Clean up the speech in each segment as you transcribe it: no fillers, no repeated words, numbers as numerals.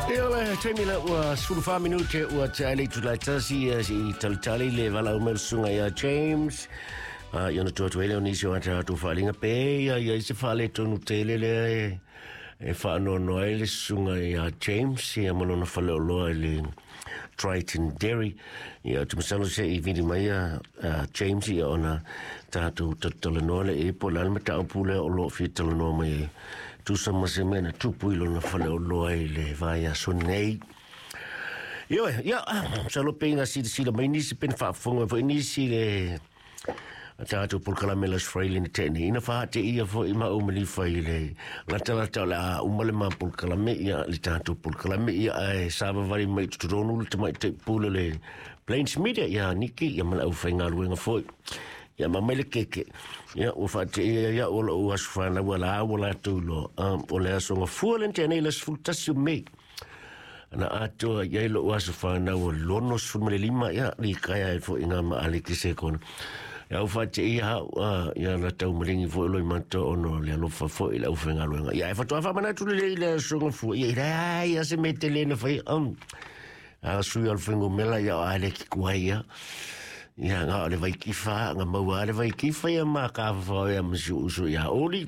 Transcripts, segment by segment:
Ia le taimi lea ua 14 minute ua tea ai le itula e tasi ia seʻi talitali le valaau mai o le susuga ia James. Ia ona tuu atu ai lea o nisi o a tatou faaaliga pe ia i ai se faaletonu tele lea e faanoanoa ai le susuga ia James ia ma lona faleoloa i le Triton Dairy. Ia, ou te masalo se i vili mai ia James ia ona tatou talatalanoa lea i ai po o le a le mataupu lea o lo o fia talanoa mai ai. Tusa ma se mea na tupu i lona faleoloa i le vaiaso nei. Ioe, ia, masalo pei na silasila mai nisi pe na faafofoga mai foi nisi i le a tatou polokalame le Aso Faraile na tea nei, ina faateia foi maua ma Lifa i le latalata o le a uma le ma polokalame, ia, le tatou polokalame, ia, ae savavali mai i totonu le tamaitai pule o le Plains Media, ia Niki, ia ma le aufaigaluega foi. Ia ma mai le keke, ia, ua faateia ia o lou aso fanau a la ua latou iloa, o le aso Gafua lea na tea nei, le 11 o Mei. Na atoa i ai lou aso fanau o 65, ia, likaea ai foi ngā ma ale ki se kona. Ia au whaate ia hau, ia la tau maringi foi loi mata ono le alofa foi le au whaingaluenga. Ia e whatoa whamana tu le le aso ngafua. Ia ira ia se me te lena whai, a sui al whaingo mela ia o ale ki kuai ia. Ia ngā o le vaikifa, ngā maua ale vaikifa ia mā ka whawhao ia masi uso ia oli.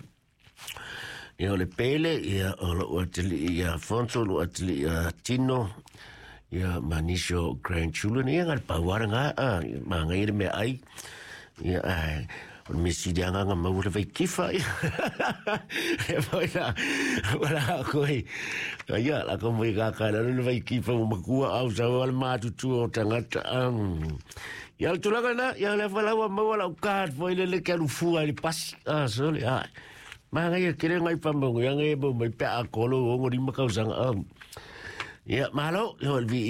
Ia o le Pele, ia o lou atalii ia Afonso, lou atalii ia Tino, ia ma nisi o grandchildren, ia nga le pauara nga, a, ma ngai le mea ai. Ia, ai, o le mea sili anga nga maua le vaikifa, ia. E foi la, wala koe. Ia, la ko mai kaka la le vaikifa mo makua au sa o le matutua o tangata. Ia le tulaga na, ia le whalaua maua lau card foi le le ke alu fua i le pasi. Ah, sorry, ah. Māngai e kere ngai whamongo, ia ngai e mau mai pea a kolo o ngo rima kausanga. Ia, malo, ia o le vi